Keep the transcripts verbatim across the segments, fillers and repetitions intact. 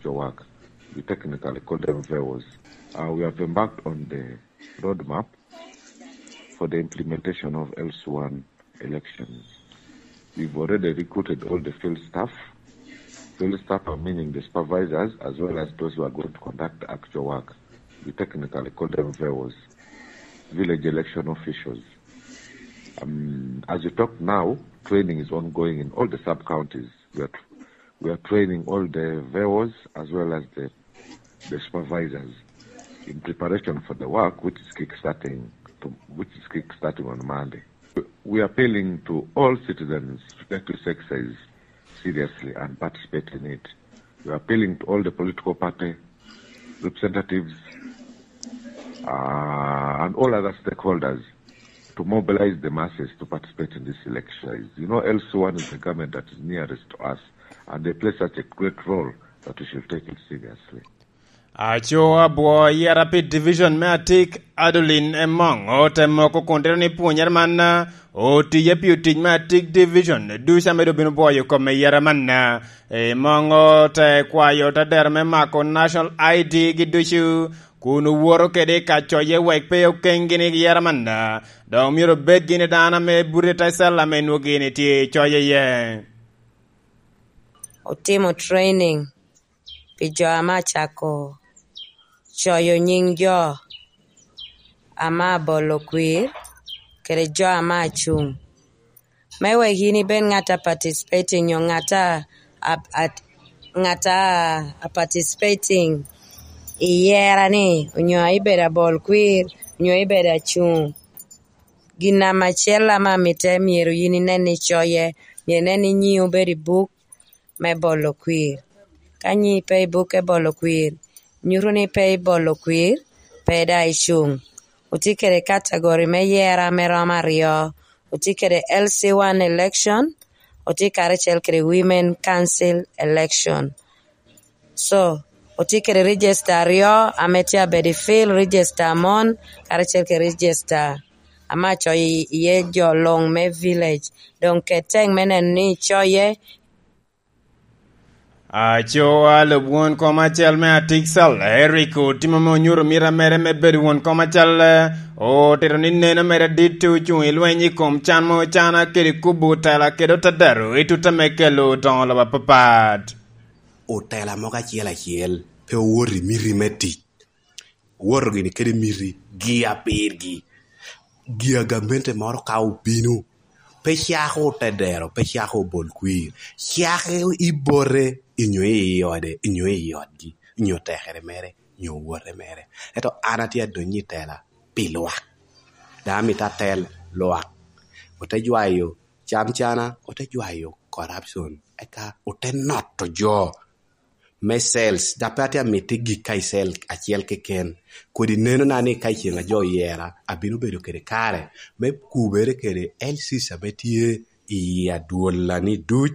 your work. We technically call them V E Os. Uh, we have embarked on the roadmap for the implementation of L C one elections. We've already recruited all the field staff. Field staff are meaning the supervisors as well as those who are going to conduct the actual work. We technically call them V E Os, village election officials. Um, as we talk now, training is ongoing in all the sub-counties. We are, we are training all the V E Os as well as the, the supervisors in preparation for the work which is kickstarting to, which is kickstarting on Monday. We are appealing to all citizens to take this exercise seriously and participate in it. We are appealing to all the political party representatives, uh, and all other stakeholders to mobilize the masses to participate in this election. You know, L C one is the government that is nearest to us, and they play such a great role that we should take it seriously. Aco abwo yera pi division me Atik, Adeline Emoŋ, ote moko kun tito ni pwonyere man, ah, otiye pi otic me Atik division ducu ame doŋ bino bwoyo kome yera man. Emoŋ ote kwayo tadero me mako National I D gi ducu, kun owoto kede i kacoye wek pe okeŋgi ni yera man, ah, dok myero obed gini dano ame buto i te cel ame nwogi ni tye i coye iye. Otimo training pi jo ame acako coyo nying jo ame abolo kwir kede jo ame acuŋ. Me wek yin ibed ŋat a participating nyo ŋat a, a, a, ŋat a, a participating i yera-ni, onyo a ibedo abol kwir, onyo ibedo acuŋ. Gin namba acel ame amite myero yin inen ni icoye, myero inen ni nyiŋi obedo i buk me bolo kwir. Ka nyiŋi pe i buk me bolo kwir, nyuto ni pe ibolo kwir, pe daŋ icuŋ. Otye kede kategori me yera ame romo aryo. Otye kede L C one election, otye karacel kede Women Council election. So, otye kede register aryo, ame tye abedo i field, register mon, karacel kede register ame acoyo i-, iye jo luŋ me village. Doŋ ket teŋ me neno ni icoye. Aco a lub won kom acel me Atik Sal, Eric Otimo ame onyuto mita mere me bedo won kom acel, otito ni neno mere dit ocuŋ i lweny i kom can mo can kede kubo otela kede otadaro i tutta me kelo odoŋo lobo apapat. Otela mogo acel acel pe owoto i miti me tic. Owoto gini kede miti gi apirgi. Gi agamente moro ka obino, pe cako otedero, pe cako obol kwir, cako i bote, inyo i ode, inyo i odgi, inyo tekere mere, inyo wote mere. Ento an atye adonyo i tela pi lwak. Daŋ amito atel lwak. Ote jwayo cam cana, ote jwayo corruption, eka ote noto jo me cells, dok pe atye amito gik ka i cell acel keken. Kodi nenona ni ka i ceŋ a jo oyera, abino bedo kede kare me kubere kede L Cs ame tye i adwola-ni duc,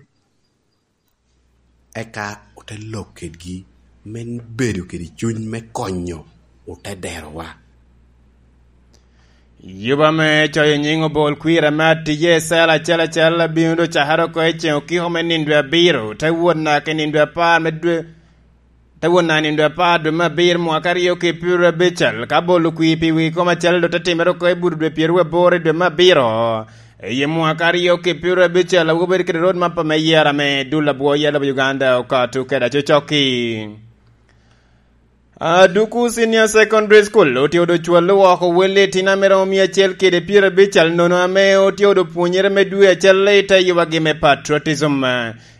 eka ote lok kedgi me bedo kede cuny me konyo ote derowa. Yuba me coyo nyiŋ obol kwir ame atije i cel acel acel bino doŋ cakere oko i ceŋ okiko me nino dwe abiro, te wot naka i nino dwe apar me dwe, te wot naka i nino dwe apar dwe me abiro mwaka aryo ki pyeraryo abicel, ka bolo kwir pi wi kom acel doŋ te timere oko i buto dwe pyeraryo aboro i dwe me abiro. I mwaka aryo ki pyeraryo abicel, awobi bedo kede road map me yera me dul abwo yelo Uganda okato kede acocokki. Aduku Senior Secondary School otye odo cwalo woko wel i tino ame romo mia acel kede pyerabicel nono ame otye odo pwonyere me dwe acel i te yubagi me patriotism.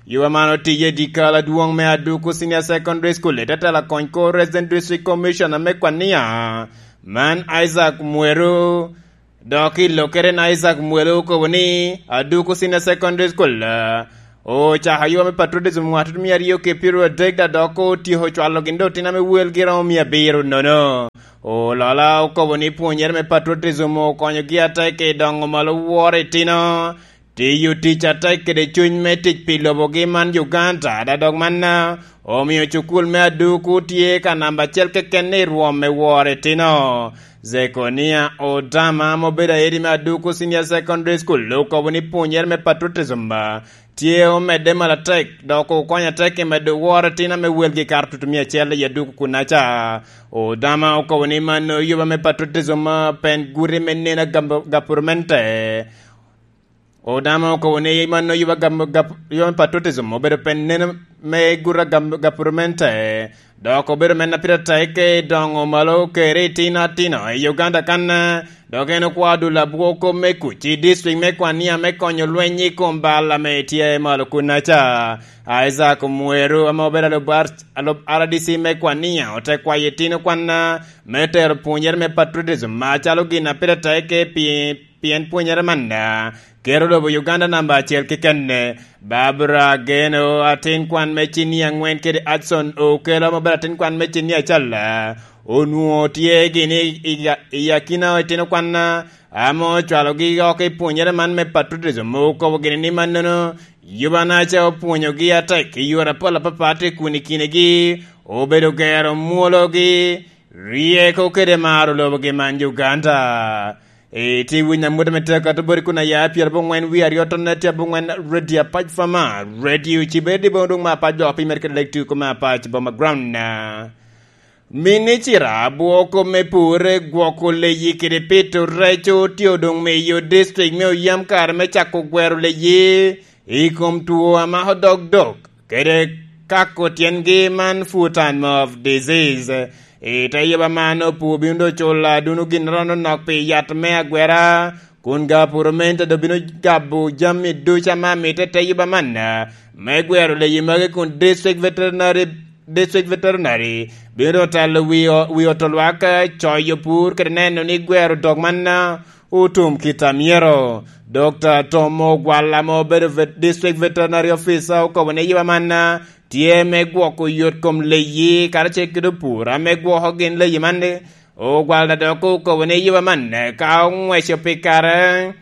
Yuba man otiye i dyekal adwoŋ me Aduku Senior Secondary School i te tela kony ko Resident District Commissioner me Kwania, man Isaac Mweru. Dok i lokere na Isaac Mwelo okobo ni, Aduku Senior Secondary School, ah, ocako ayuwa me patriotism mwaka tutumia aryo ki pyeraryo adek, da dok otyeko cwalo gin doŋ tino ame welgi romo mia abiro nono. Olola okobo ni pwonyere me patriotism okonyogi atek i doŋo malo woro itino, tiyo tic atek kede cuny me tic pi lobogi man Uganda, da dok manna omio cukul me Aduku tye ka namba acel keken i rwom me woro itino. Zekonia Odama, ame obedo aedi me Aduku Senior Secondary School, okobo ni pwonyere me patriotism, ah, tye omedde malatek, dok okonyo atek i medo woro itino ame welgi kato tutumia acel i aduku kunnaca. Odama okobo ni mano yuba me patriotism, ah, pen guri me neno gam-, gapurmente. Odama okobo ni mano yuba gam-, gap-, yuba me patriotism obedo pen neno me gura gam-, gapurmente. Dok obedo men a pire tek i doŋo malo kede itino atino i Uganda kan, dok en okwao dul abwoko me kuc i district me Kwania me konyo lweny i kom bal ame tye malo kunnaca. Isaac Mweru ame obedo alub R-, alub R D C me Kwania ote kwayo itino kwan me tero pwonyere me patriotism acalo gin a pire tek pi-, pien pwonyere man kero lobo Uganda namba acel kekenne. Barbara Geno, atin kwan me cini angwen kede Adson Okelo ame obedo atin kwan me cini acel, onwoŋo tye gini i, i, i akina itino kwan ame ocwalogi oko i pwonyere man me patriotism, okobo gini ni mannono yubanaca opwonyogi atek i yore apol apapat i kun i kinegi obedo gero mwologi, ryeko kede maro lobogi man Uganda. Itye winyo amut ame tye akato boti kun aya pyerabongwen wie aryo tonne tye abongwen, Radio Apac Fama, Radio Cibedi bong dong me Apac dok pi mere kede lek tuko me Apac Boma Ground. Minicira abwoko me pur, gwoko leyi kede pito rec otye doŋ miyo district me Oyam kare me cako gwero leyi i kom two a mako dogdog kede kako tyengi man foot and mouth disease. I te yuba man, opur bino doŋ culo aduno ginnoro anonok pi yat me agwera, kun gapuramente doŋ bino gabo jami ducu ame amito i te yuba man, me gwero leyi magi kun district veterinary, district veterinary bino doŋ telo wi o-, wi oto lwak, coyo pur kede neno ni gwero dog man otum kit a myero. Dokta Tom Ogwal ame obedo vet-, District Veterinary Officer okobo ni yuba man tye me gwoko yot kom leyi karacel kede opur ame gwoko gin leyi man. Ogwal dok okobo ni yuba man ka oŋweco pi kare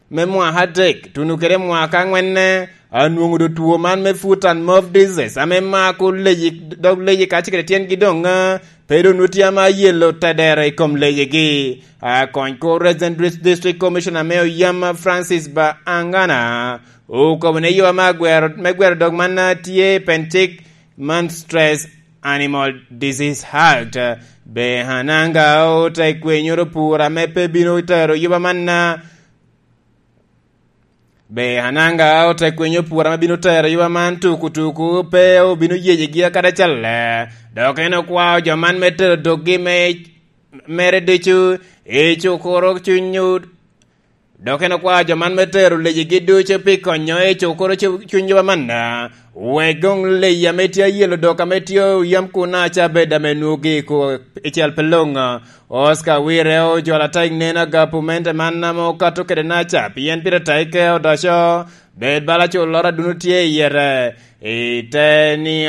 me mwaka adek, tuno kede mwaka aŋwen, anwoŋo do two man me foot and mouth disease, ame mako leyi, dog leyi kacel kede tyengi doŋ, ah, pe doŋ nut yam ayelo tedero i kom leyigi. Akony ko Resident Dis-, District Commissioner me Oyam, Francis Baangana, okobo ni yo me gwero, me gwero dog man, ah, tye i pen cik man Stress Animal Disease Act. Be Ananga ote kwenyoro pur ame pe bino tero yuba man, ah, Be Ananga ote kwinyo pur ame bino tero yuba man tuku tuku, pe obino yeyegi akada calle. Dok en okwao jo man me tero doggi me, mere ducu i cukuro cuny, dok en okwao jo man me tero leyigi ducu pi konyo i cukuro cu-, cuny yuba man. Wek doŋ leyi ame tye ayelo dok ame tye oyam kun aca bed ame nwogi i ko-, i cal pe loŋ. Oscar Wire ojolo atek nen agapumente man ame okato kede naca, pien pire tek odoco, bed bala culloro aduno tye i yete. I te ni,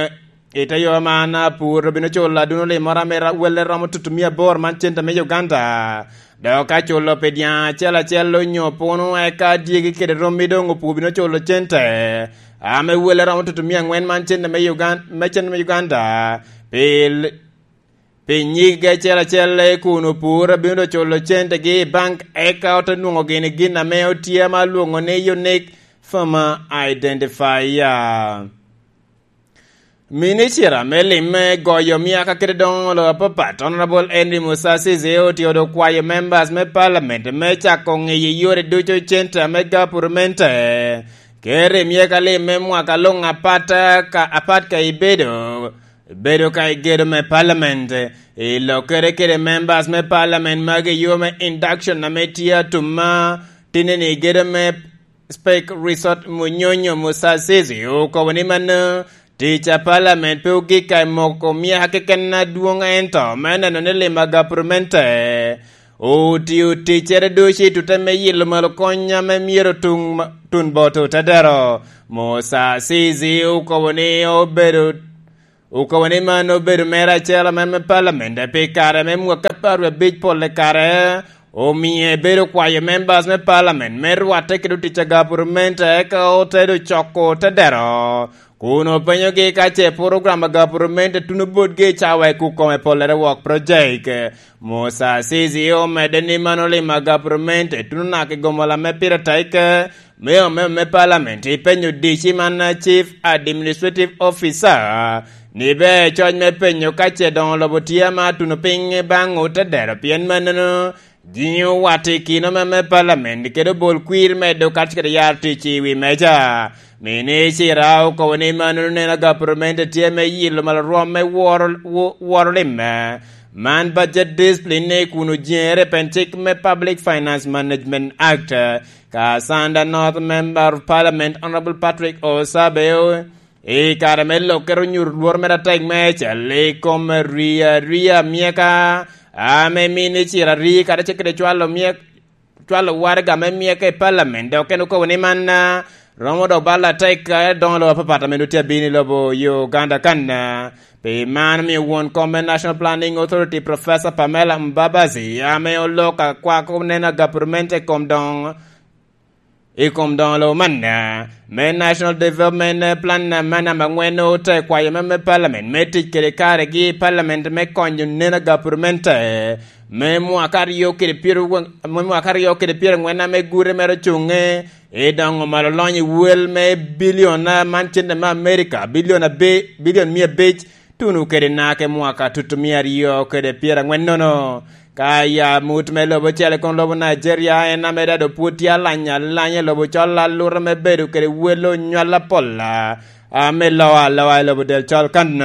i te yo man, apur obino culo aduno limoro ame ra-, welle romo tutumia aboro man cente me Uganda. Dok ka culo pi dyaŋ acel acel onyo puno, eka dyegi kede rommi doŋ opur bino culo cente ame welle romo tutumia aŋwen man cente me Ugan-, me cente me Uganda. Pi l-, pi nyiggi acel acel kun opur bino doŋ culo centegi i bank, eka ote nwoŋo gini gin ame otye ame alwoŋo ni Unique Farmer Identifier. Minicira me lim me goyo myaka kede doŋo lobo apapat, Honorable Henry Musasizi otye doŋ kwayo members me parliament me cako ŋiyo yore ducu cente ame gapurmente kede myeka lim me mwaka luŋ apat ka, apat ka ibedo, bedo ka igedo me parliament. I lokere kede members me parliament magi yo me induction ame tye atum ma tinni igedo me Spek Resort Munyonyo Musasizi okobo ni mano tic a parliament pe ogik ka i moko myaka keken adwoŋ, ento me neno ni lim a gapurmente otio ticcere ducu i tute me yilo malo kony ame myero tuŋ ma-, tun bot otedero. Musasizi okobo ni obedo Okobo ni man obedo mere acel ame me parliament pi kare me mwaka apar wie abic, polle kare omie ebedo kwayo members me parliament me rwatte kede otic a gapurment, eka ote doŋ coko tedero kun openyogi ka ce program a gapurment tuno botgi i cawa i kukome pollere wok project. Musasizi omedde ni man olim a gapurment tuno naka i gomola me pire tek, Me ome me Parliament ipenyo D C man, Chief Administrative Officer, ni be coc me penyo ka ce doŋ lobo tye ama tuno piny baŋ otedero, pien mannono jiŋo wat i kino me, me Parliament kede obol kwir medo kacel kede yaro tic i wi meja. Minicita okobo ni mannono neno gapurment tye me yilo malo rwom me woro, wo-, woro limme. Man budget discipline kun ojeŋere pen cik me Public Finance Management Act. Ka Sanda North Member of Parliament Honorable Patrick Osabeo, i kare me lokke onyuto lworo mere atek me cal i kom ria, ria myeka, ame mini cira ri kadi cik kede cwalo myek, cwalo waraga me myeka i Parliament, dok en okobo ni man, ah, romo dok bal atek, ah, doŋo lobo apapat ame nwoŋo tye abino i lobo Uganda kan, ah, pi man omio won kom me National Planning Authority, Professor Pamela Mbabazi, ame olok akwako neno agapurment i kom doŋ i kom doŋo lobo man, ah, me National Development Plan, ah, me namba angwen ote kwayo me, me Parliament me tic kede karegi i Parliament me konyo neno agapurment, eh, me mwaka aryo kede pyero, me mwaka aryo kede pyerangwen ame gure mere ocuŋe i doŋo malo lonyo i wel me bilion, ah, man cente me America, bilion abe-, bilion mia abic, tuno kede naka i mwaka tutu mia aryo kede pyerangwen nono. Ka ya mut me lobo ocele kono lobo Nigeria en ame dado pwod tye alanya alanya i lobo col alura me bedo kede wel onywal apola, ame loa aloa i lobo del col kan.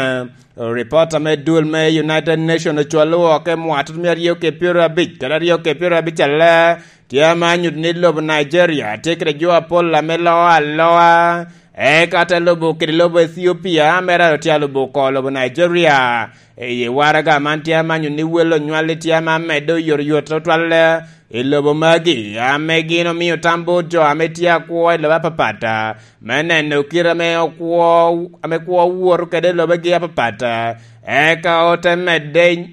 Ripota me dul me United Nation ocwalo woko i mwaka tutu mia aryo kede pyero abic kede aryo kede pyero abic ale, tye ame anyuto ni lobo Nigeria tye kede jo apol ame loa aloa, eka te lobo kede lobo Ethiopia, ame raro tye alubo oko lobo Nigeria. I waraga man tye ame anyuto ni wel onywal tye ame amedde oyotoyot tutwal i lobo magi, ame gin omio tam bot jo ame tye akwo i lobo apapat, me neno kite ame okwo, ame kwo woto kede i lobegi apapat, eka ote medde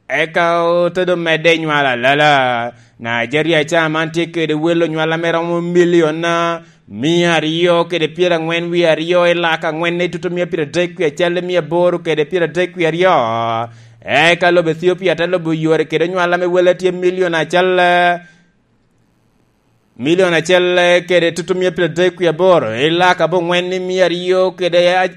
eka ote doŋ medde i nywal alala. Nigeria ca man tye kede wel onywal ame romo milion, ah, mia aryo kede pyerangwen wie aryo i laka angwen i tutu mia pyeradek wie acel i mia aboro kede pyeradek wie aryo. Eka lobo Ethiopia te lubo yore kede onywal ame welle tye milion acel, milion acel, eh, kede tutu mia pyeradek wie aboro, i laka abongwen i mia aryo kede a-,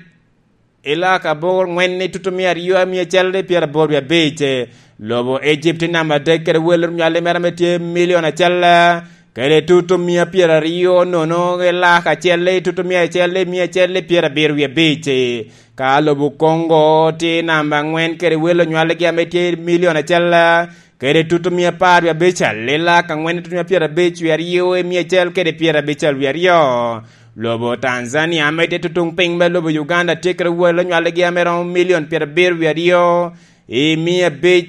i laka abongwen i tutu mia aryo mia acel i pyeraboro wie abic. Lobo Egypt i namba adek kede wel onywal mere ame tye milion acel, eh, kede tutu mia pyeraryo nono i laka acel i tutu mia acel i mia acel i pyerabiro wie abic. Ka lobo Congo tye i namba angwen kede wel onywalgi ame tye milion acel, eh, kede tutu mia apar wie abicel, i laka angwen tutu mia pyerabic wie aryo i mia acel kede pyerabicel wie aryo. Lobo Tanzania ame tye tutuŋ piny me lobo Uganda tye kede wel onywaligi ame romo milion pyerabiro wie aryo i mia abic,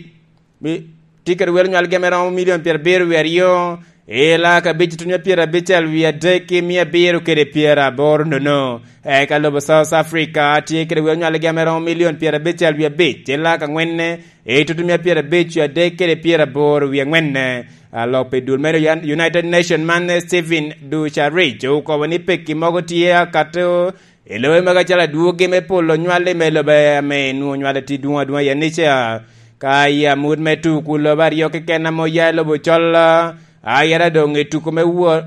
mi-, tye kede wel onywaligi ame romo milion pyerabiro wie aryo i laka abic tutu mia pyerabicel wie adek i mia abiro kede pyeraboro nono. Eka lobo South Africa tye kede wel onywaligi ame romo milion pyerabicel wie abic i laka angwen i tutu mia pyerabic wie adek kede pyeraboro wie angwen. Alok pi dul me United Nation man, eh, Stephen Dujarric okobo ni pekki mogo tye akato i lobe magi acalo adwogi me polo nywal i me lobe ame nwoŋo nywal tye dwoŋ adwoŋ aye ni ca. Ka i amut me tuku lobe aryo keken ame oya i lobo col, a yera doŋ i tuku me wor,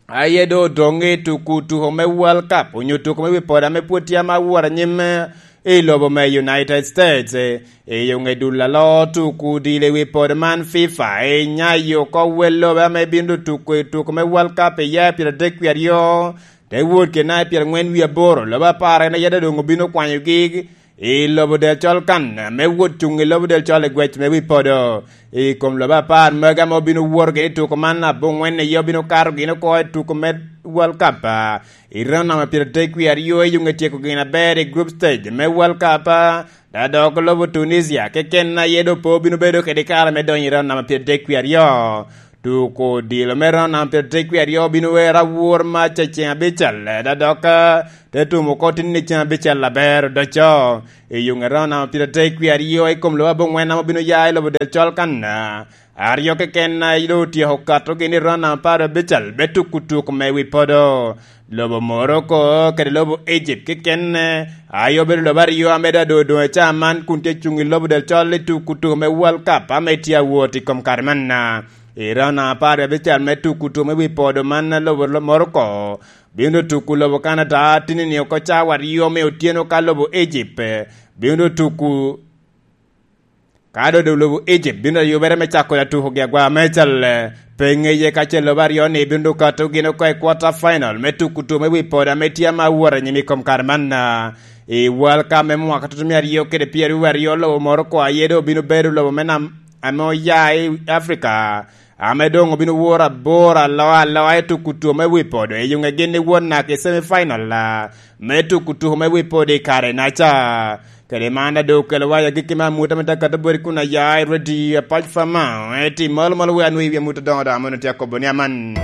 Aye doŋ odoŋ i tuku tuko me World Cup, onyo tuko me wi poda ame pwod tye ama awor anyim, eh, i lobo me United States. Eh, i oŋe dul alo tuku odilo i wi poda man FIFA, eh, inyayo oko wel lobe ame bino tuko i tuko me World Cup i ya i pyeradek wie aryo, te wot kede naka i pyerangwen wie aboro, lobe apar en aye doŋ obino kwanyogi, i lobo del col kan, me wot cuŋ i lobo del col i gwec me wi podo. I kom lobo apar magi ame obino woto gin i tuko man, abongwen aye obino kato gin oko i tuko me World Cup, ah, i round namba pyeradek wie aryo, i yuŋ etyeko gin aber i group stage me World Cup, ah, da dok lobo Tunisia keken aye doŋ pe obino bedo kede kare me donyo i round namba pyeradek wie aryo. Tuko odilo me round namba pyeradek wie aryo obino wero awor mac i ceŋ abicel, da dok, ah, te tumo oko tin i ceŋ abicel aber odoco. I yuŋ eround namba pyeradek wie aryo i kom lobo abongwen ame obino ya i lobo del col kan, aryo keken a doŋ otyeko kato gin i round namba apar abicel me tuko tuk me wi podo. Lobo Morocco kede lobo Egypt keken aye obedo lobo aryo ame doŋ adoŋo doŋ i caa man kun tye cuŋ i lobo del col i tuko tuk me World Cup ame tye awot i kom kare man. I raun apar wie abicel me tuku tuko me wi podo man, lobo lo-, Morocco bino tuku lobo Canada tinini oko cawa aryo me otyeno ka lobo Egypt bino tuku, ka dodo lobo Egypt bino yubere me cako da tukogi agwa me cal, eh, pe ŋeye ka ce lobo aryo ni bino kato gin oko i quarter final me tuku tuko me wi podo ame tye ama wot anyim i kom kare man, ah, i World Cup me mwaka tutumia aryo kede pyeraryo aryo, lobo Morocco aye doŋ obino bedo lobo me nam ame oya i Africa, ame doŋ obino woro abor aloa aloa i tuku tuko me wi podo, i yuŋe gin ni wot naka i semi final, ah, me tuku tuko me wi podo i kare naca. Kede man, a doŋ okelo wa i agikki me amuta me Dakar Bori kun aya i redio apac Fama, eti malo malo we anwo i wi amuta doŋo doŋ amono tye akobo ni aman.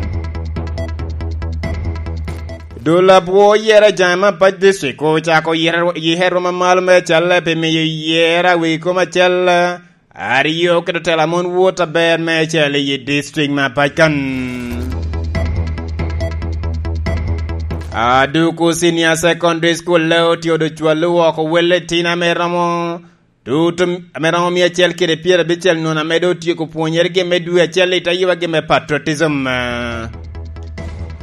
Dul abwo yera jaŋe me apac district ocako yera, yera roma malo me acal pi miyo yera wi kom acal aryo kede otela mon wot aber me acel i district me apac kan. Aduku Senior Secondary School le otye odo cwalo woko welle tin ame romo tutum, ame romo mia acel kede pyerabicel nwono ame doŋ otyeko pwonyergi me dwe acel i te yubagi me patriotism.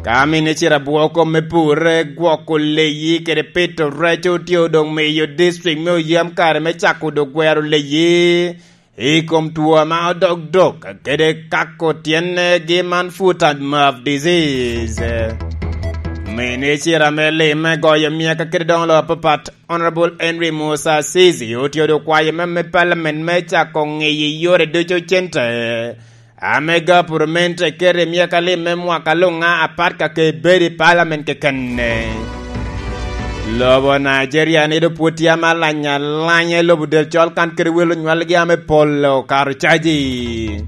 Ka mine ciro abwoko me pur, gwoko leyi kede pito rec otye odoŋ miyo district me oyam kare me cako dok gwero leyi i kom two ame odok dok kede kako tyenne gi man foot and mouth disease. Mine ciro ame lime goyo miaka kede doŋ lo apapat, Honorable Henry Musa Sisi otye odo kwayo me, me parliament me cako ŋiyo yore ducu cente ame gapurment eketo i myaka lim me mwaka luŋ a apat ka ke bedo i parliament kekene. Lobo Nigeria ni doŋ pwod tye ame alanya alanya i lobo del col kan kede welo nywalgi ame pol okato caji.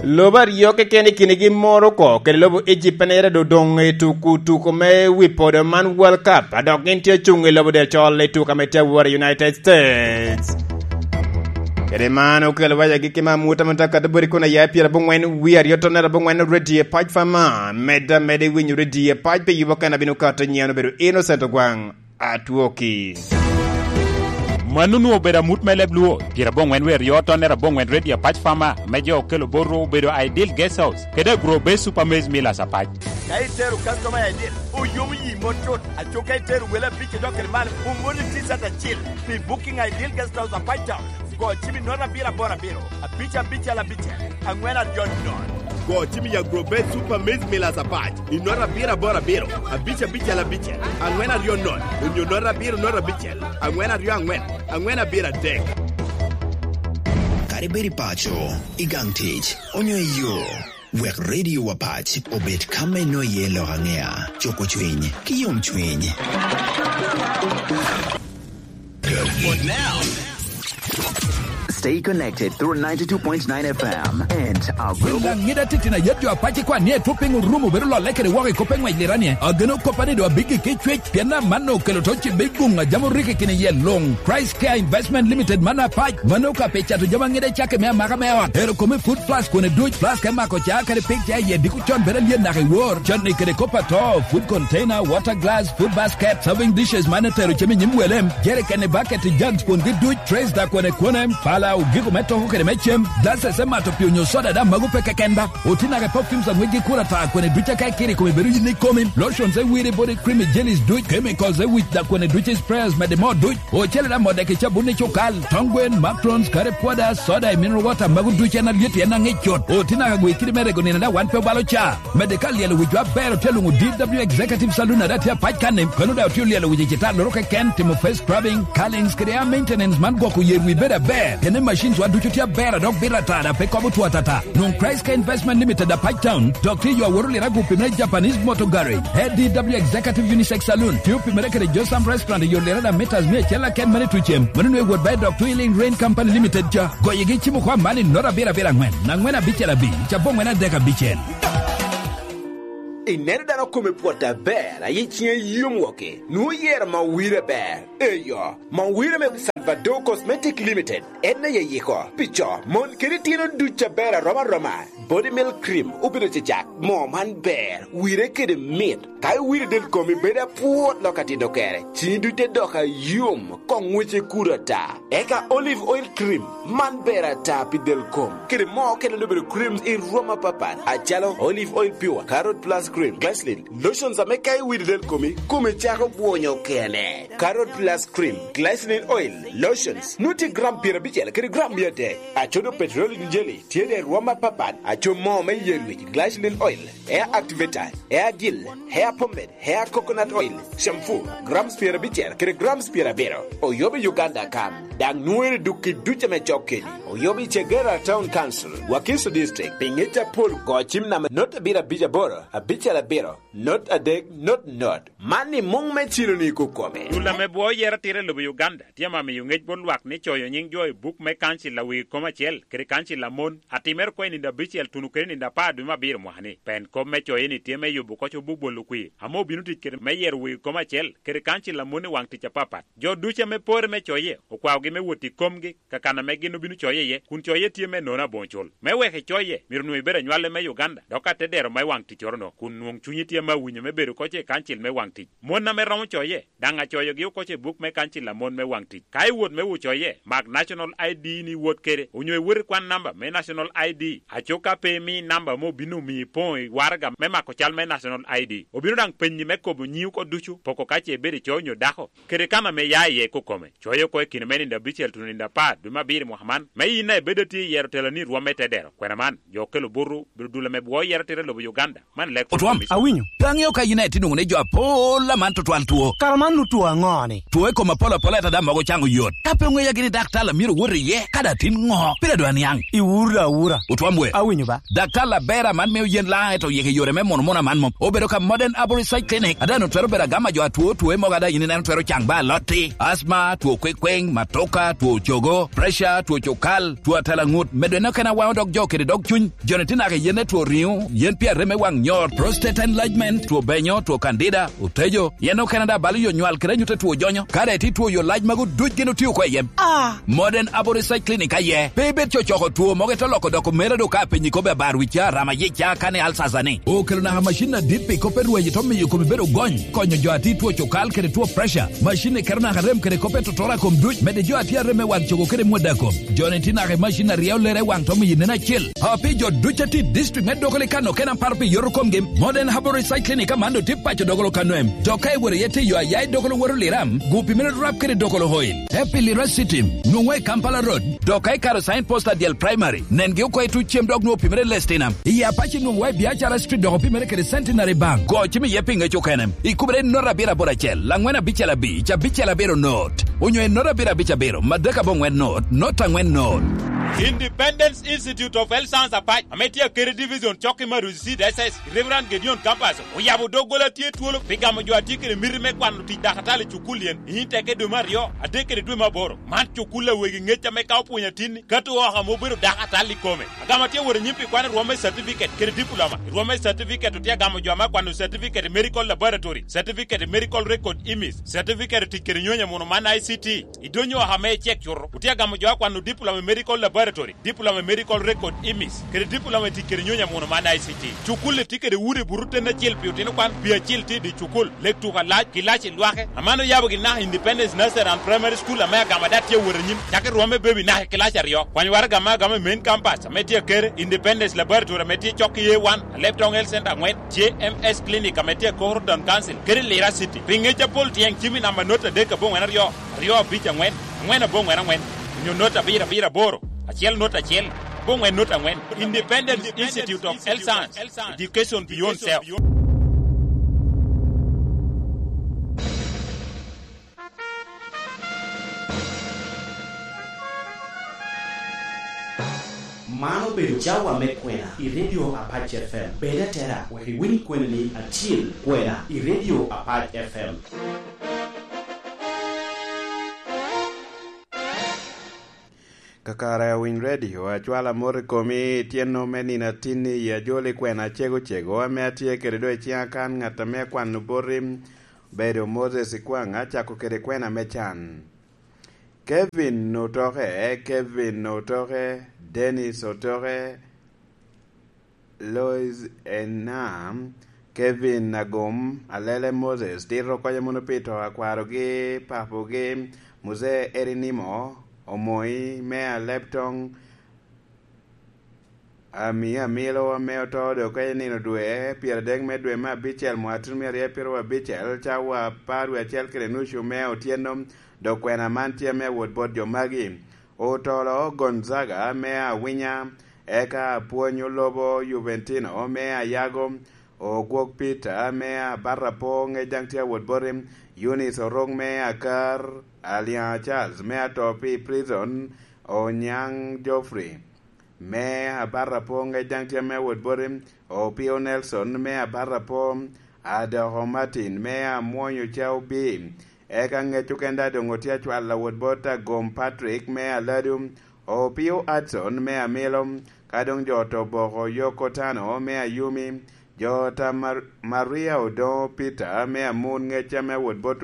Lobo aryo keken i kinigi Morocco kede lobo Egypt en aye doŋ odoŋ i tuku tuko me wi podo man World Cup, a dok gin tye ocuŋ i lobo del col i tuka me tye awor i United States. Kede man okelo wa i agikki me amuta me Dakar Bori kun aya i pyerabongwen wie aryo tonnere abongwen redio i pac Fama, medde ameda i winyo redio i pac pi yubo kena bino kato nyen obedo Innocent Ogwaŋ. Atwoki. Mano onwoŋo obedo amut me leb Luo, pyerabongwen wie aryo tonnere abongwen redio apac Fama, me jo okelo bot ru obedo Ideal Guest House, kede Agro Base Super Maize Millers apac. Ka itero customer I D, oyomo yi mot cut. Aco ka itero wele abic i dok kede malo, omoni T-shirt acil pi booking Ideal Guest House apac town. Go cim i nono abiro aboro abiro, abic abicel abicel, angwen aryo nono. Go cim i Agro Base Super Maize Millers apac i nono abiro aboro abiro, abic abicel abicel, angwen aryo nono, onyo nono abiro nono abicel, angwen aryo angwen, angwen abiro adek. Kadi bed i paco, i gang tic, onyo i yo, wek Radio Wapac obed ka me nwoŋo iye lok aŋea, cuko cwiny, ki yom cwiny. Stay connected through ninety-two point nine F M and our global. Ŋida titino ayet jo apac i kwan ni etwo piny orumo bedo lolle kede woko i kop eŋwec liranie. Ageno koppa ni do abiggi ki cwec, pien amanno okelo to ci big guŋ a jam orike kine yel luŋ. Christ Care Investment Limited man apac, mano ka pe cato jami aŋida cake me amaka me ot. Ero kome food plus kone duc, plus ka mako ca kede pig ca iye diko con bedo alyen naka i wor. Con ni kede kop ato, food container, water glass, food basket, serving dishes man etero cem i nyim welem, jerikeni, bucket, jugs, kwongi duc, trays da kwene kwene, pala, ogiko me toko kede me cem, glasses me mato pi onyo soda da mago pe keken ba. Otinake perfumes aŋwec gi kura ta kwene duc aka ikiri kome bedo yin ikomi, lotions e wiri body cream jellies duc, chemicals e wic da kwene duc sprayers mede mo duc. Ocele da modde ki cabun i cukal, tong gwen, macarons, kare pwoda, soda, i mineral water, mago duc en alyet en aŋic cut. Otinaka gwe kidi me rego nino da wan pe obalo ca. Mede ka lyelo wicwa aber otye luŋo D W Executive Saloon ada tye apac kanni, kono da otye lyelo wic i cita loro keken, timo face scrubbing, curlings, kede air maintenance man gwoko yer wi bedo aber. Kene machines wa ducu tye aber adok bit atada pe kobo two atata. Nwoŋ Christ Care Investment Limited apac town, dok tye yo aworo lira gupi me Japanese Motor Garage. A D W Executive Unisex Saloon, tye opimere kede Josam Restaurant i yo lira da meters mia acel aken mane tucem. Mano nwe wot by Doctor Healing Rain Company Limited ca. Goyigi cimo kwa mani noro abiro abiro angwen, angwen abicel abic, cabo angwen adek abicel. Ineno dano kome pwot aber, aye ciŋe yom woke, nwoŋo yero ma owire ber. Eyo, ma owire me Vado Cosmetic Limited en aye yiko pi co, mon kede tyeno duc aber arom aroma. Body Milk Cream obedo cecak. Moo man ber, wire kede mit. Ka iwiro del komi bedo apwot lok atito kere, cini duc te dok ayom, koŋ wece kudo ata. Eka Olive Oil Cream, man ber ata pi del kom. Kede moo okene obedo creams i rwom apapat, acalo Olive Oil Pure, Carrot Plus Cream, Glycerin, lotions ame ka iwiro del komi, kome cako bwonyo kene. Carrot Plus Cream, Glycerin Oil, lotions, nuti gram pyerabicel kede gram mia adek. Acodo petroleum jelly, tye de rwom apapat, aco moo me yen wic, glycerin oil, hair activator, hair gel, hair pomade, hair coconut oil, shampoo, grams pyerabicel kede grams pyerabiro. Oyobo i Uganda kan, daŋ nwoŋere duk i duc ame cok keni. Oyobo i Chegera Town Council, Wakiso District, pi ŋec apol go cim namba not abiro abic aboro, abicel abiro, not adek, not not. Man i muŋ me cilo-ni kukome. Dul ame bwo yero atira i lobo Uganda tye ame miyo ŋec bot lwak ni coyo nyiŋ jo i buk me kancil a wegi kom acel kede kancil a mon, atimere oko i nino abicel tuno kede nino apar dwe me abiro mwaka-ni. Pen kop me coye-ni tye me yubo oko cobo bolo kwir ame obino tic kede me yero wegi kom acel kede kancil a mon i waŋ tic apapat. Jo ducu ame pore me coye okwaogi me wot i komgi, kakan ame gin obino coye iye, kun coye tye me nono aboŋo cul. Me wek icoye, myero onwoŋo ibed anywale me Uganda, dok ka te dero me waŋ ticcoro-no, kun nwoŋ cunyi tye ame awinyo me bedo oko i kancil me waŋ tic. Mon ame romo coye, daŋ acoyogi oko i buk me kancil a mon me waŋ tic. Ka iwot me wot coye, mak National I D ni iwot kede, onyo iwot i kwan namba me National I D. Aco ka pe imi namba ame obino miyo ipoŋo i waraga me mako cal me National I D, obino daŋ penyi me kobo nyiŋi oko ducu, poko ka ce ibedo ico onyo dako, kede kan ame ia iye kukome. Coye oko i kine me nino abicel tuno nino apar dwe me abiro i mwaka man, me yin a ibedo atye i yero tela ni rwom me te dero. Kwena man, jo okelo buto, bedo dul ame bwo yero atira i lobo Uganda. Man lek Otwam, awinyo. Pe aŋeo ka yin a itye nwoŋo ni jo apol aman tutwal two. Kara man nu two aŋo-ni? Two i kom apol apol ata daŋ mogo caŋ oyot. Ka pe oŋeya gini daktar a myero wot iye, ka daŋ tin ŋo? Pire dwa niaŋ. Iwuro da awura. Otwam we. Awinyo ba. Daktar aber aman mio yen laŋ eto yeke yore me mono mono aman mom. Obedo ka Modern Arborist Side Clinic. Ada no twero bedo agama jo atwo two mogo ada yin ineno twero caŋ ba alotti. Asma, two kwekweŋ, matoka, two cogo, pressure, two cokal, two atalaŋut. Medo en okene awaŋo dog jo kede dog cuny. Joni tye naka i yen me two riŋo, yen pi arem me waŋ nyor, prostate enlargement, two benyo, two candida, otejo, yen okene daŋ balo yo nywal kede anyut a two jonyo. Ka daŋ itye two yo lac magu duc gin otio oko i yem. Ah! Modern Arborist Side Clinic aye. Pe ibed cocoko two mogo ito loko dok omera do ka apenyi kobbe abar wicca, rama yica, kane alsasa ni. Okelo naka macin adit pi kop me rweny ito miyo komi bedo gony, konyo jo a tye two cokal kede two pressure. Macin ni keto naka rem kede kop me totora kom duc, medde jo a tye arem me waŋ cogo kede mwada kom. Joni tye naka i macin a ryeo lere i waŋ to miyo nen acel. A pi jo duc a tye i district me Dokolo i kano kena paro pi yoto komgi, Modern Herbal Recycling i Kamando tye paco Dokolo kano em. Dok ka iwero iye tiyo aya i Dokolo woto Liram, gu pi mene rap kede Dokolo Oil. Happy Lira City, nwoŋwa i Kampala Road. Dok ka ikaro sign post adyel primary, nengi oko i tuc cem dok nwoŋo pi mene Lestina. I Apache nwoŋwa i Biacara Street dok pi mene kede Centenary Bank. Go cim iye pi ŋec okene. Ikubere i not abiro aboro acel, angwen abicel abic, abicel abiro not. Onyo i not abiro abic abiro, madek aboŋwen not, not angwen not. Independence Institute of Health Science Apac, ame tye akede division cok i Maruzi Seed S S, Reverend Gedeon Campus, oyabo doggola tye twolo pi gamo jo a tye kede miti me kwano tic dakatali i cukul yen, i teke dwe me aryo, adek kede dwe me aboro. Man cukul a wegi ŋec ame ka opwonyo atinni, kato oko ame obedo dakatali i kome. Agamo tye wot anyim pi kwano i rwom me certificate kede diploma. I rwom me certificate otye agamo jo ame akwano certificate i medical laboratory, certificate i medical record image, certificate i tic kede nyonyo muno man I C T. I donyo oko ame icek cuto, otye agamo jo akwano diploma i medical laboratory, diploma i medical record image, kede diploma i tic kede nyonyo muno man I C T. Cukul-li tye kede udi buto ten acel pi otino kwan, pi acil tye i dye cukul, lek tuko alac, kilaci lwake. Aman oyabo gin naka Independence Nursery and Primary School ame agamo daŋ tye wot anyim, cako i rwom me baby naka i kilaci aryo. Kwany waraga me agamo i main campus ame tye akere, Independence Laboratory ame tye cok i A one, Aleptong Health Center angwen, J M S Clinic ame tye akoro Town Council, kede Lira City. Pi ŋec apol tyeŋ cim i namba not adek aboŋwen aryo, aryo abic angwen, angwen aboŋwen angwen, onyo not abiro abiro aboro, acel not acel, aboŋwen not angwen. Independence Institute of Health Science, Education Beyond Self. Man obedo cawa me kwena i Radio Apac F M. Bed atera wek iwiny kweni ni acil kwena i Radio Apac F M. Kakare awiny redio, acwalo amot i komi, tyenno me nino atinni i ajoli kwena acego cego ame atye kede do i ciŋa kan, ŋat ame akwano boti, bedo Moses Ikwaŋ, acako kede kwena me can. Kevin Otoke, Kevin Otoke, Dennis Otoke, Lois Enam, Kevin Agum, Alele Moses, Tito Koca Mono Pito, akwarogi, papogi, Muse Erinimo, Omoi, Mea Leptong, Ami Amilo ame oto dok ka i nino dwe pyeradek me dwe me abicel mwaka tutumia aryo pyeraryo abicel, cawa apar wie acel kede nucu me otyeno, dok kwena man tye me awot bot jo magi: Otolo Gonzaga me Awinya, eka Apwony Olobo Juventino me Ayago, Ogwok Peter me Abatapo ŋec daŋ tye awot boti, Eunice Orok me Akar, Aliaŋa Charles me Ato pi Prison, Onyaŋ Geoffrey me Abatapo ŋec daŋ tye ame awot boti, Opio Nelson me Abatapo, Adoko Martin me Amwonyo Cao B, eka ŋec okene daŋ doŋ otye acwalo awot bot Agom Patrick me Aladu, Opio Adson me Amilo, ka doŋ jo oto boko Yoko Tano me Ayumi, jo ta Mar-, Maria Odoŋo Peter me Amun ŋec ame awot bot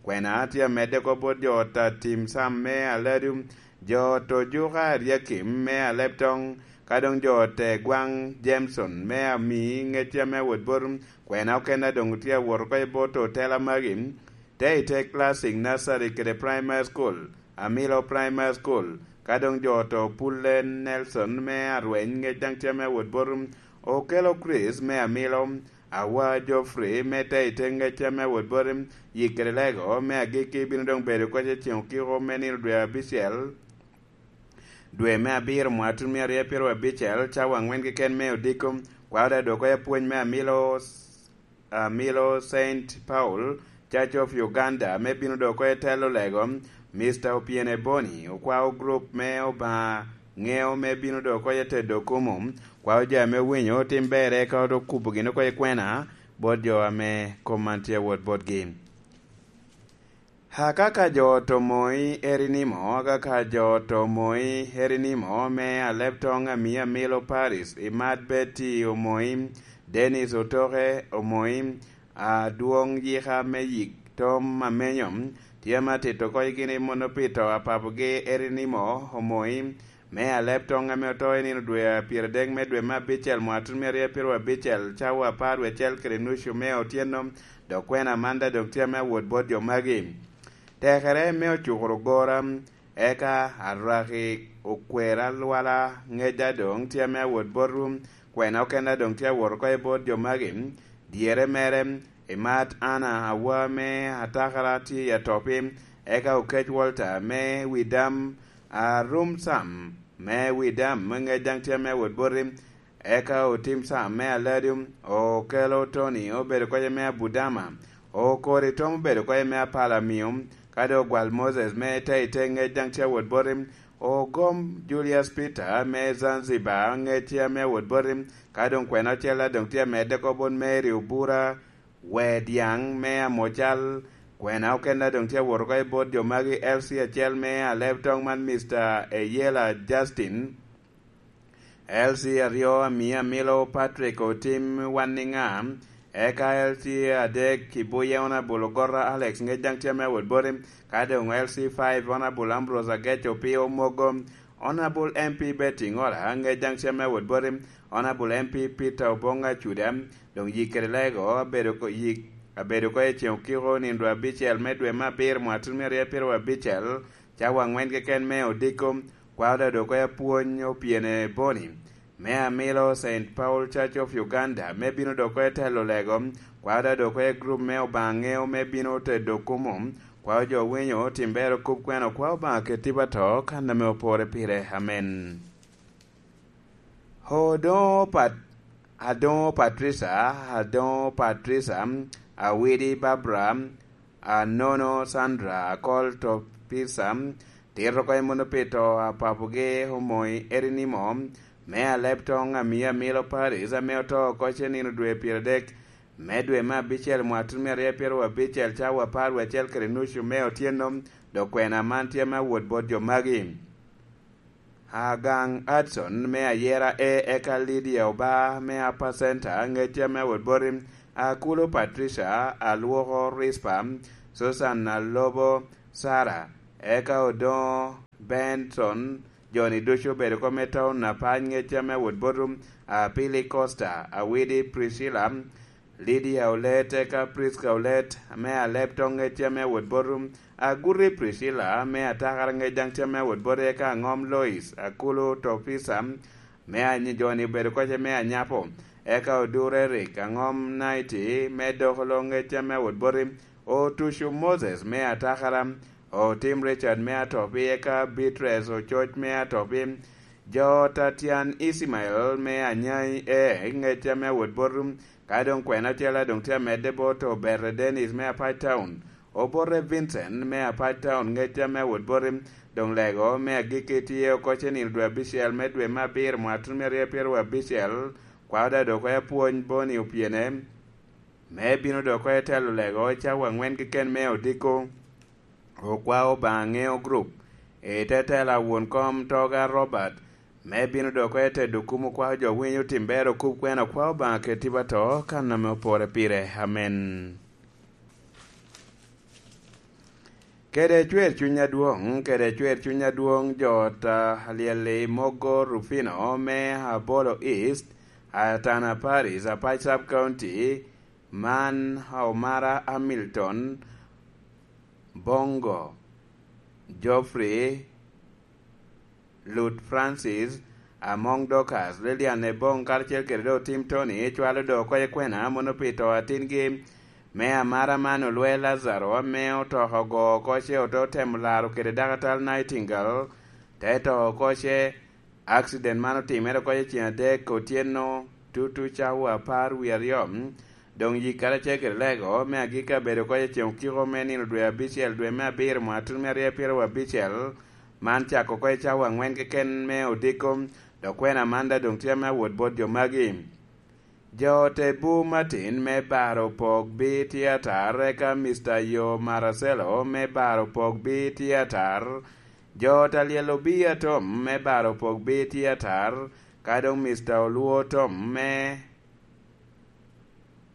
kwena tye amedde oko bot jo ta Tim Sam me Aladu, jo oto Juka Aryakim me Aleptong, ka doŋ jo ote Gwaŋ Jameson me Ami ŋec ame awot bot kwena okene doŋ tye awot oko i bot otela magi, te i te Classic Nursery kede Primary School, Amilo Primary School, ka doŋ jo oto Pulle Nelson me Arweny ŋec daŋ tye ame awot bot Okelo Chris me Amilo, Awa Geoffrey me te i te ŋec ame awot boti, Yik kede Lego me agikki bino doŋ bedo koc i ceŋ okiko me nino dwe abicel, dwe me abiro mwaka tutumia aryo pyeraryo abicel, cawa aŋwen keken me odiko, kwao daŋ dwoko apwony me Amilo, Amilo Saint Paul, Church of Uganda, me bino dwoko i telo lego, Mister Opiene Boni, okwao group me Obaŋa ŋeo me bino dwoko i tedo kumo, kwao jo ame owinyo tim berre ka oto kubo gin oko i kwena, bot jo ame kom man tye awot botgi. Akaka jo oto Moi Erinimo, akaka jo oto Moi Erinimo me Aleptong, Ami Amilo Paris, Imat Betty Omoi, Dennis Otoke Omoi, Adwoŋ Yika me Yik Tom Amenyo, tye ame atito oko i gin i mono pito apapogi Erinimo Omoi, me Aleptong ame oto i nino dwe a pyeradek me dwe me abicel mwaka tutumia aryo pyeraryo abicel, cawa apar wie acel kede nucu me otyeno, dok kwena man daŋ doŋ tye ame awot bot jo magi. Tekere me ocukoro gora, eka arwaki okwer alwala ŋec daŋ doŋ tye ame awot bot rum, kwena okene daŋ doŋ tye awot oko i bot jo magi, dyere mere, Imat Anna Awa me Atakara tye i atopi, eka Okec Walter me Widam, Arum Sam me Widam me ŋec daŋ tye ame awot boti, eka Otim Sam me Aladi, Okelo Tony obedo koc me Abudama, Okori Tom obedo koc me Apala Miyo, ka doŋ Ogwal Moses me te i te ŋec daŋ tye awot boti, Ogom Julius Peter me Zanzibar ŋec tye ame awot boti, ka doŋ kwena ocel daŋ tye amedde oko bot Mary Obura, Wediaŋ me Amocal, kwena okene daŋ tye awot oko i bot jo magi, L C acel me Aleb Toŋ man Mister Eyela Justin, L C aryo Ami Amilo Patrick Otim Wanniŋa, eka L C adek Kibuye Honourable Ogorra Alex ŋec daŋ tye ame awot boti, ka doŋ L C five Honourable Ambrose Agec Opio Mogo, Honourable M P Betty Ŋola ŋec daŋ tye ame awot boti, Honourable M P Peter Oboŋ Acuda, doŋ yik kede lego abedo ko-, yik, abedo oko i ceŋ okiko nino dwe abicel me dwe me abiro mwaka tutumia aryo pyeraryo abicel, cawa aŋwen keken me odiko, kwao daŋ dok oko i apwony Opiene Boni, me Amilo Saint Paul Church of Uganda, me bino dok oko i telo lego, kwao daŋ dok oko i grup me Obaŋa Ŋeo me bino tedo kumo, kwao jo winyo tim ber okub kwena, kwao Obaŋa ket tipo ato kan ame opore pire. Amen. Odoŋo Pat-, Adoŋo Patricia, Adoŋo Patricia, Awidi Barbara, Anono Sandra, Akol Topisa, tito oko i mono pito apapogi Omoi Erinimo, me Aleb Toŋ Ami Amilo Paris, ame oto oko ce nino dwe pyeradek me dwe me abicel mwaka tutumia aryo pyeraryo abicel, cawa apar wie acel kede nucu me otyeno, dok kwena man tye me awot bot jo magi. Agaŋ Adson me Ayera A, eka Lydia Oba me Upper Center, ŋec tye me awot boti, Akulo Patricia, Alwoko Rispa, Susan Alobo, Sara, Eka Odoŋo Benson, jo-ni ducu obedo oko me taun apac, ŋec ame wot bot Apili Costa, Awidi Priscilla, Lydia Olet, eka Prisca Olet, me Alep Toŋ, ŋec ame wot bot Aguti Priscilla, me Atakara, ŋec daŋ tye ame wot bot, eka Aŋom Lois, Akulu Topisa, me Anyi-, jo-ni obedo oko me Anyapo, eka Odur Eric, Aŋom Naiti, me Dokolo, ŋec ame wot bot, Otucu Moses, me Atakara, Otim Richard, me Atopi, eka Beatrice Ococ, me Atopi, jo Tatian Ismael, me Anyai, e, ŋec ame wot bot, ka doŋ kwena ocele doŋ tye amedde bot Obere Dennis, me Apac Town, Obote Vincent, me Apac Town, ŋec ame wot bot, doŋ lego me agikki tye oko ce nino dwe abicel me dwe me abiro mwaka tuno me aryo pyeraryo abicel, kwao da dok oko apwony Boni Opyene, me bino dok oko etelo lego cawa aŋwen keken me odiko. Okwao Obaŋa ŋeo group, i te tela won kom Toga Robert, me bino dok oko etedo kum okwao jo winyo tim ber okub kwena okwao Obaŋa keti ba to kan ame opore pire. Amen. Kede cwer cuny adwoŋ, kede cwer cuny adwoŋ, jo ot a Alyel-li Mogo Rufino me Abolo East, Atana Paris, Apac Sub County, man Omara Hamilton, Bongo, Geoffrey, Lut Francis, Amoŋ Dorcas, Lilian Ebong, karacel kede dok Tim Tony, cwalo dok oko i kwena mono pi to atingi, me amara man olwe Lazaro, ame otoko ogo oko ce ote otemo laro kede dakatal Nightingale, te to oko ce. Akcident man otimere oko i ceŋ adek otyeno tutu cawa apar wie aryo, doŋ yik karacel kede lego me agikki abedo oko i ceŋ okiko me nino dwe abicel dwe me abiro mwaka tuno me aryo pyeraryo abicel, man cako oko i cawa aŋwen keken me odiko, dok kwena man daŋ doŋ tye ame awot bot jo magi. Jo te bu Martin me baro pok bi tye atar, eka Mister Yo Maracelo me baro pok bi tye atar. Jo ta lyel obi atom me baro pok bi tye atar, ka doŋ Mister Olwo Tom me,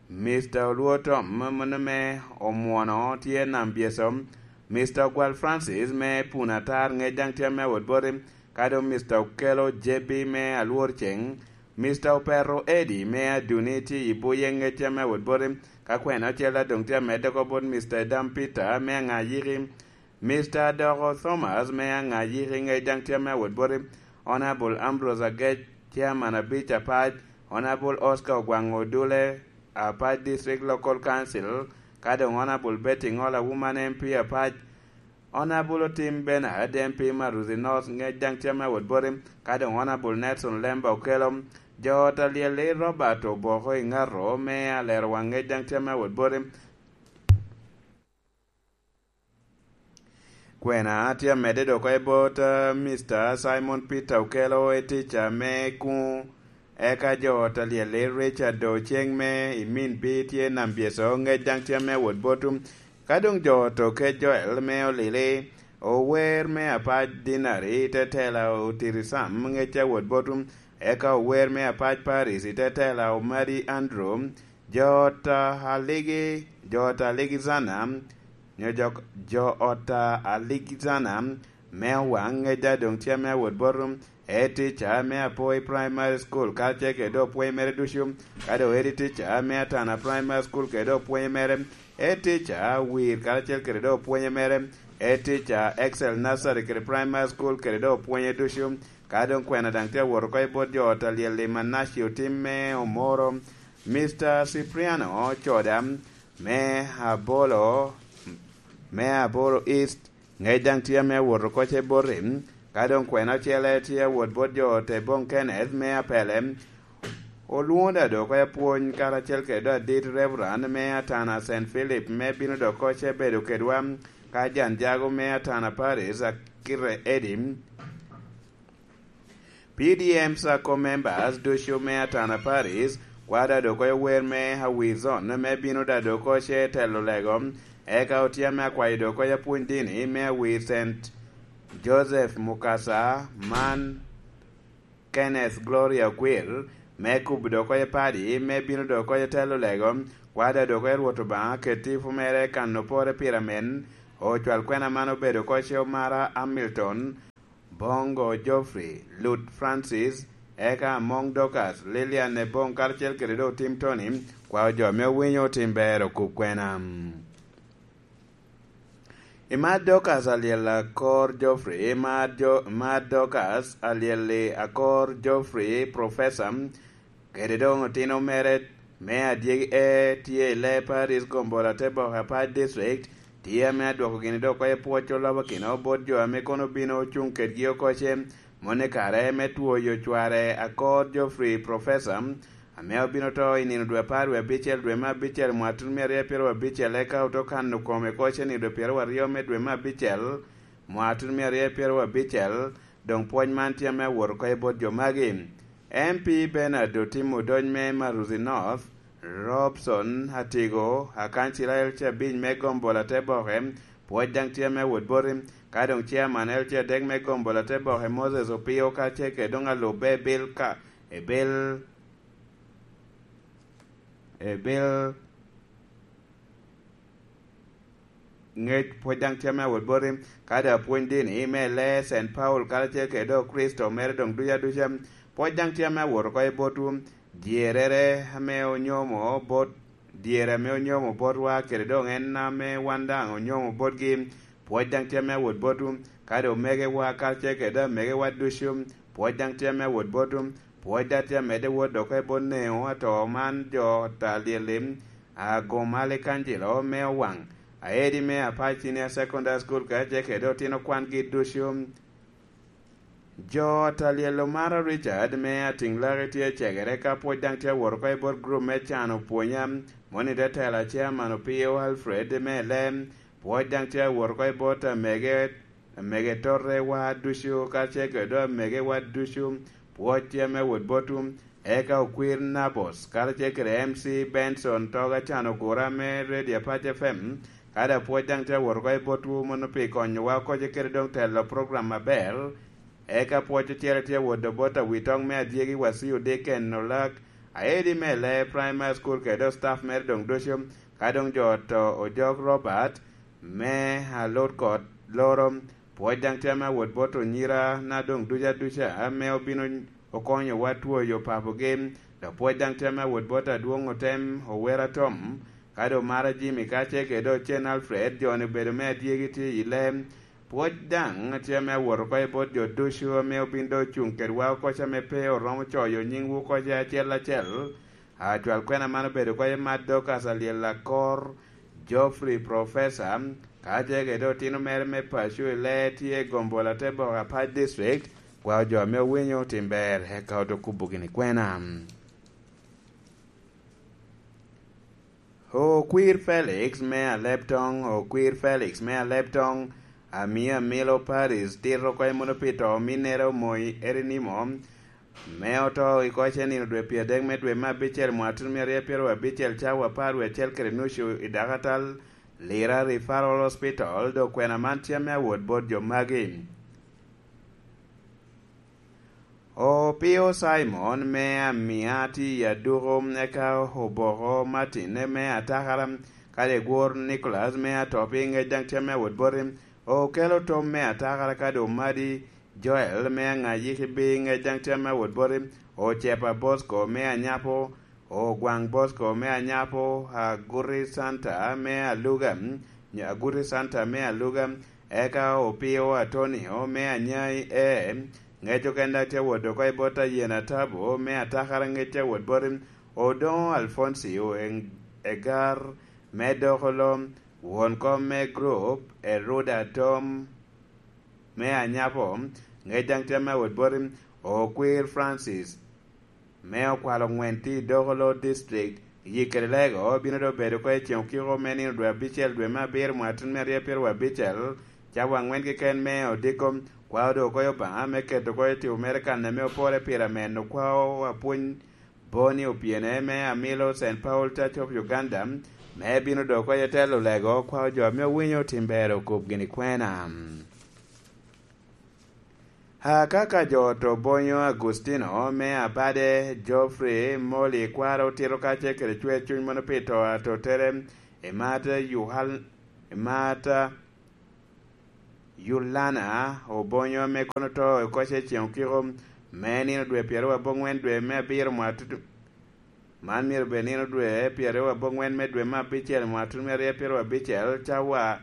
Mister Olwo Tom me, me, me Omwono tye nam byeco. Mister Ogwal Francis me Puna Atar ŋec daŋ tye ame awot boti, ka doŋ Mister Okelo J B me Alwor Ceng, Mister Opero Eddie me Aduni tye i buye ŋec tye ame awot boti, ka kwena ocel adoŋ tye amedde oko bot Mister Edam Peter me Aŋayiki, Mister Adoko Thomas me Aŋayiki ŋec daŋ tye ame awot boti, Honorable Ambrose Agec, Chairman abic Apac, Honorable Oscar Ogwaŋ Odule, Apac District Local Council, ka doŋ Honorable Betty Ŋola, Woman M P Apac, Honorable Otim Bernard, M P Maruzi North, ŋec daŋ tye ame awot boti, ka doŋ Honorable Nelson Lemba Okello, jo ot a lyel-li Robert Oboko Iŋato me Alero Waŋ ŋec daŋ tye ame awot boti. Kwena tye amedde dok oko i bot, eh, Mister Simon Peter Okello, i tica me kuŋ. Eka jo ot a lyel-li Richard Oceng me i Min Bi tye nam byeco, ŋec daŋ tye ame awot botwu. Ka doŋ jo ot Okec Joel me Olili, ower me Apac Dinari, i te tela Otiri Sam, ŋec tye awot botwu. Eka ower me Apac Paris, i te tela Omadi Andrew, jo ot a Aligi, jo ot a Aligi Zana, nyo jo, jo ot a Aligi Zana, me Owaŋ ŋec daŋ doŋ tye ame awot botwu. E tica me Apoi Primary School, karacel kede dok pwony mere ducu, ka doŋ edi tica me Atana Primary School kede dok pwony mere, e tica Wir, karacel kede dok pwony mere, e tica Excel Nursery kede Primary School kede dok pwonye ducu, ka doŋ kwena daŋ tye awot oko i bot jo ot a lyel i Manaci Otim me Omoro, Mister Cipriano Coda, me Abolo, me Abolo East, ŋec daŋ tye ame awot oko ce boti, ka doŋ kwena ocele tye awot bot jo ot Ebong Kenneth me Apele, olwoŋo daŋ dok oko apwony karacel kede dok adit Reverend me Atana Saint Philip me bino dok oko ce bedo kedwa, ka Jan Jago me Atana Paris, Akite Eddie, P D M Sacco members ducu me Atana Paris, kwada dok oko wer me Awizon me bino da dok oko ce telo lego, eka otye ame akwayo dok oko apwony dini me Awir Saint Joseph Mukasa man Kenneth Gloria Okwir, me kubo dok oko padi, me bino dok oko telo lego, kwada dok oko Rwot Obaŋa ket tipo mere kan opore pire amen, Ocwal kwena man obedo oko ce Omara Hamilton, Bongo Geoffrey, Lut Francis, eka Among Dorcas, Lilian Ebong karacel kede doŋ Tim Tony, kwao jo ame owinyo Tim Ber okub kwena. Imar Dorcas alyel akor Geoffrey, imar jo, imar Dorcas alyel akor Geoffrey, Professor, kede doŋ otino mere me adyegi e tye i Lee Paris Gombola te Boke Apac District, tye ame adwoko gini dok oko i pwoc olobo kino bot jo ame kono obino ocuŋ kedgi oko ce, moni kare me twoyo cware akor Geoffrey Professor, ame obino to i nino dwe apar wie abicel dwe me abicel mwatun mia aryo pyero abicel, eka oto kano kome oko ce nino dwe pyero aryo me dwe me abicel mwatun mia aryo pyero abicel, doŋ pwoc man tye ame awot oko i bot jo magi. M P Bernard Otim Odony me Maruzi North, Robson Atigo, akancila L C abic me Gombola te Boke, pwoc daŋ tye ame awot boti, ka doŋ chairman L C adek me Gombola te Boke, Moses Opio, ka ce kede doŋ alubbe Bill ka, e Bill, e Bill, ŋec pwod daŋ tye ame awot boti, kadi apwony dini me lee Saint Paul karacel kede doŋ Kricito mere doŋ ducu aduca, pwod daŋ tye ame awot oko i botwu. Dyerrere ame onyomo bot, dyere ame onyomo botwa kede doŋ en ame wan daŋ onyomo botgi, pwod daŋ tye ame awot botwu, kadi omegewa karacel kede doŋ amegewa ducu, pwod daŋ tye ame awot botwu, pwod daŋ tye amedde wot oko i bot neŋo ato man jo ta lyel-li, Agoma Likanjilo me Owaŋ, Aedi me Apac Senior Secondary School kacel kede otino kwangi ducu. Jo ta lyel Omara Richard me Atiŋlaki tye cegere ka pwod daŋ tye awot oko i bot gurup me cano pwonya, moni te tela Chairman Opio Alfred me Lem, pwod daŋ tye awot oko i bot amege, amege Torre wa ducu, kacel kede doŋ amege wa ducu, pwod tye ame awot botwu, eka okwir Nabos, karacel kede M C Benson Toga Can Ogura me Radio Apac F M, kadi apwod daŋ tye awot oko i botwu mono pi konyowa oko ce kede doŋ telo program aber, eka pwod ocele tye awot bot awitoŋ me adyegi Wasiu Dicken Olak, Aedi me Lee Primary School kede doŋ staff mere doŋ ducu, ka doŋ jo to Ojok Robert, me Alut Kot Loro, pwod daŋ tye ame awot bot onyira na doŋ ducu aduca ame obino okonyowa twoyo papogi, dok pwod daŋ tye ame awot bot adwoŋ otem Owera Tom, kadi Omara Jimmy kacel kede Ocen Alfred, jo-ni obedo me adyegi tye i lem, pwod daŋ tye ame awot oko i bot jo ducu ame obin doŋ ocuŋ kedwa oko ce ame pe oromo coyo nyingwu oko ce acel acel, Acwal kwena man obedo oko i Mad Dorcas Alyel Akor, Geoffrey Professor, ka ce kede otino mere me paco i lee tye i Gombola te Boke Apac District, kwao jo ame owinyo tim ber, eka oto kubo gini kwena. Okwir Felix me Aleptong, Okwir Felix me Aleptong, Amia Milo Paris, tito oko i mono pi to ominnere Omoi Erinimo, me oto i koc enino dwe pyeradek me dwe me abicel mwatun mia aryo pyero abicel cawa apar wie acel kede nucu i dakatal Lira Referral Hospital, dok kwena man tye ame awot bot jo magi. Opio Simon me Amia tye i aduko, eka Oboko Martin me Atakara, kadi Egwor Nicholas me Atopi, ŋec daŋ tye ame awot boti, Okelo Tom me Atakara, kadi Omadi Joel me Aŋayiki bi ŋec daŋ tye ame awot boti, Ocepa Bosco me Anyapo, Ogwaŋ Bosco me Anyapo, Aguti Santa me Aluga, Aguti Santa me Aluga, eka Opio Atonio me Anyai e, ŋec oken daŋ tye awot oko i bot Ayen Atabo me Atakara ŋec tye awot boti, Odoŋo Alfoncio Eng-, Egar me Dokolo, won kom me gurup, Eruda Tom, me Anyapo, ŋec daŋ tye ame awot boti, Okwir Francis, me Okwalo Ŋwen tye i Dokolo District, yik kede lego bino doŋ bedo oko i ceŋ okiko me nino dwe abicel dwe me abiro mwaka tyen me aryo pyeraryo abicel, cawa aŋwen keken me odiko, kwao doŋ oko i Obaŋa me keto oko i tipo mere kan ame opore pire ameno kwao apwony Boni Opyene me Amilo Saint Paul Church of Uganda, me bino doko i telo lego kwao jo ame owinyo tim ber okub gini kwena. Akaka jo to bonyo Agustino me Abade, Geoffrey, Molly, kwaro otito kacel kede cwer cuny mono pi to atotere, Emata, Yohal-, Emata, Yulana Obonyo ame kono oto oko ce ceŋ okiko me nino dwe pyeraryo aboŋwen dwe me abiro mwaka tutu. Man myero obed nino dwe pyeraryo aboŋwen me dwe me abicel mwaka tutu me aryo pyeraryo abicel cawa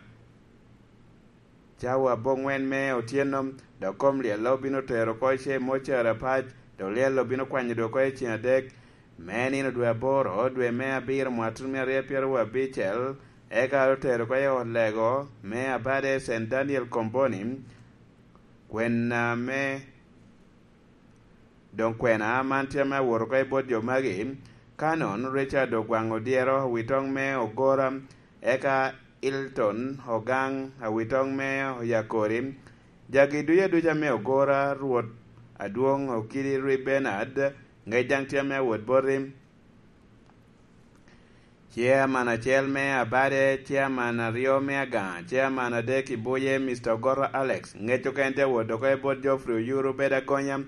cawa aboŋwen me otyeno, dok kom lyello bino tero oko ce mocere apac, dok lyello bino kwanyo dwe oko i ceŋ adek, me nino dwe aboro, dwe me abiro mwaka tutu me aryo pyeraryo abicel, eka otero oko i ot lego me abade Saint Daniel Komboni, kwena me Doŋ kwena man tye ame awot oko i bot jo magi, Canon Richard Ogwaŋ Odyero, awitoŋ me Ogora, eka Hilton Ogaŋ, awitoŋ me Oyakori, jagi ducu aduca me Ogora, Rwot Adwoŋ Okidi Ri Bernard, ŋec daŋ tye ame awot boti. Chairman acel me Abade, Chairman aryo me Agaŋa, Chairman adek i Buye, Mister Ogoto Alex, ŋec okene tye awot oko i bot Geoffrey Oyuru Bedo Agonya,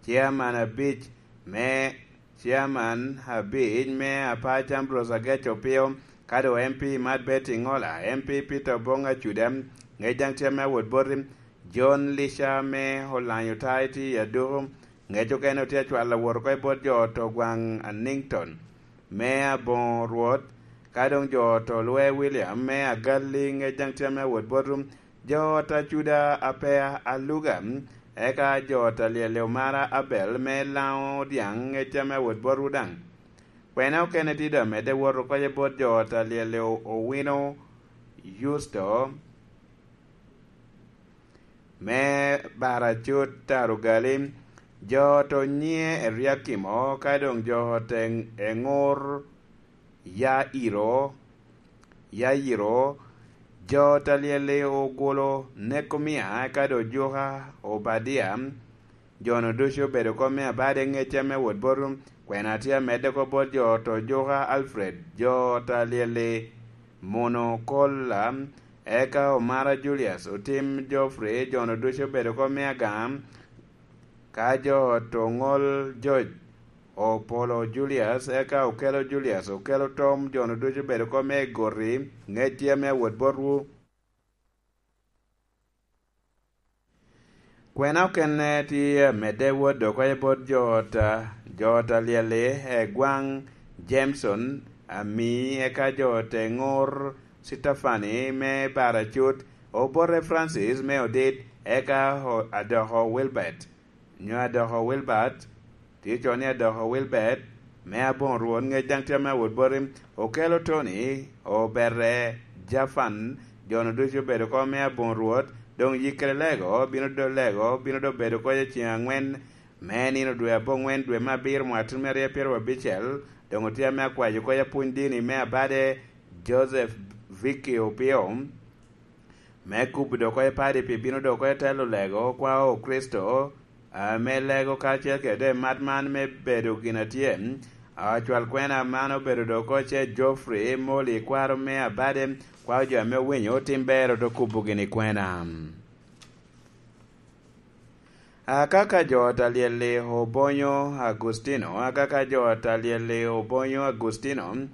Chairman abic me Chairman abic me Apac Ambrose Agec Opio, ka doŋ M P Mad Betty Ngola, M P Peter Obong Acuda, ŋec daŋ tye ame awot boti, John Lisha me Olanyo Taiti Aduku, ŋec okene otye acwalo awot oko i bot jo ot Ogwaŋ Annington me Aboŋo Rwot, ka doŋ jo ot Olwe William me Agalli, ŋec daŋ tye ame awot botwu, jo ot Acuda Apea Aluga, eka jo ot Alyel Omara Abel me Laŋo Dyaŋ, ŋec tye ame awot botwu daŋ. Kwena okene tye doŋ amedde wot oko i bot jo ot Alyel Owino Yusto, me Baracut Tarugali, jo ot Onyie Eriakimo, ka doŋ jo ot Eŋ-, Eŋur Yairo, Yairo, jo ot Alyel Ogolo Nekomia, ka doŋ Ojuka Obadia, jo-nu ducu obedo oko me Abade, ŋec ame awot botwu, kwena tye amedde oko bot jo ot Ojuka Alfred, jo ot Alyel Mono Kola, eka Omara Julius, Otim Geoffrey, jo-nu ducu obedo oko me Agaŋa, ka jo ot Oŋol George, Opolo Julius, eka Okelo Julius, Okelo Tom, jo-nu ducu obedo oko me Goti, ŋec tye ame awot botwu. Kwena okene tye amedde wot oko i bot jo ot, jo ot Alyel-li, Egwaŋ Jameson, Ami, eka jo ot Eŋur Citafani me Baracut, Obote Francis me Odit, eka o-, Adoko Wilbert, nyo Adoko Wilbert, tye co ni Adoko Wilbert, me Aboŋo Rwot, ŋec daŋ tye ame awot boti, Okelo Tony, Obete Jafan, jo-nu ducu obedo oko me Aboŋo Rwot, doŋ yikkere lego, bino do lego, bino do bedo oko i ceŋ aŋwen, me nino dwe aboŋwen, dwe me abiro, mwaka tutu me aryo pyeraryo abicel, doŋ otye ame akwayo oko i apwony dini me Abade, Joseph Vicky Opio, me kubo dok oko i padi pi bino dok oko i telo lego, kwao Kricito, ame lego karacel kede mat man me bedo gin atye. Acwal kwena man obedo dok oko ce Geoffrey Moli, kwaro me Abade, kwao jo ame owinyo tim ber ote kubo gini kwena. Akaka jo ot Alyel-li Obonyo Agustino, akaka jo ot Alyel-li Obonyo Agustino,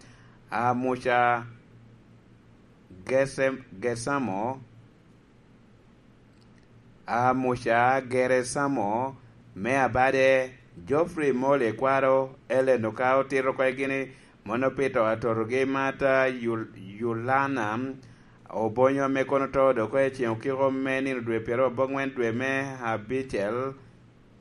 Amuca Gese-, Gesamo, Amuca Geresamo me Abade, Geoffrey Mole Kwaro, Ellen Okao Tito Kwegini, Mono Pito Atorogi Mata, Yul-, Yulana Obonyo ame kono oto dok oko i ceŋ okiko me nino dwe pyeraryo aboŋwen dwe me abicel,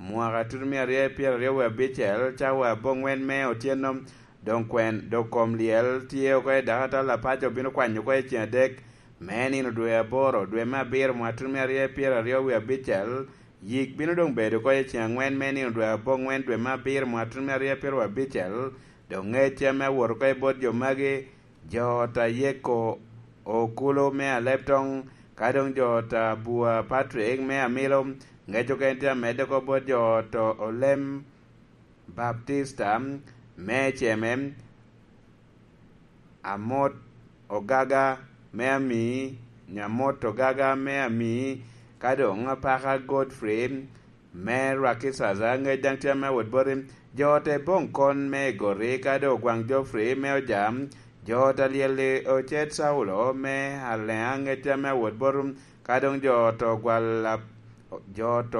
mwaka tutu mia aryo pyeraryo wie abicel, cawa aboŋwen me otyeno, doŋ kwen, dok kom lyel tye oko i dakatal apaco bino kwanyo oko i ceŋ adek me nino dwe aboro, dwe me abiro, mwaka tutu mia aryo pyeraryo wie abicel, yik bino doŋ bedo oko i ceŋ aŋwen me nino dwe aboŋwen, dwe me abiro, mwaka tutu mia aryo pyeraryo abicel, doŋ ŋecce me wot oko i bot jo magi, jo ot a Yeko Okulu me Aleptoŋ, ka doŋ jo ot a Bua Patrick me Amilo, ŋec okene tye amedde oko bot jo ot Olem Baptista me Ceme, Amot Ogaga me Amii, Nyamot Ogaga me Amii, ka doŋ Apaka Godfrey, me Rwakicaca, ŋec daŋ tye ame wot boti, jo ot Eboŋ Kon me Egoti, ka doŋ Ogwaŋ Geoffrey me Ojam, Jo ot a lyel-li ocet Caulo me aleŋa ŋec ame awot boto, ka doŋ jo oto gwal, jo oto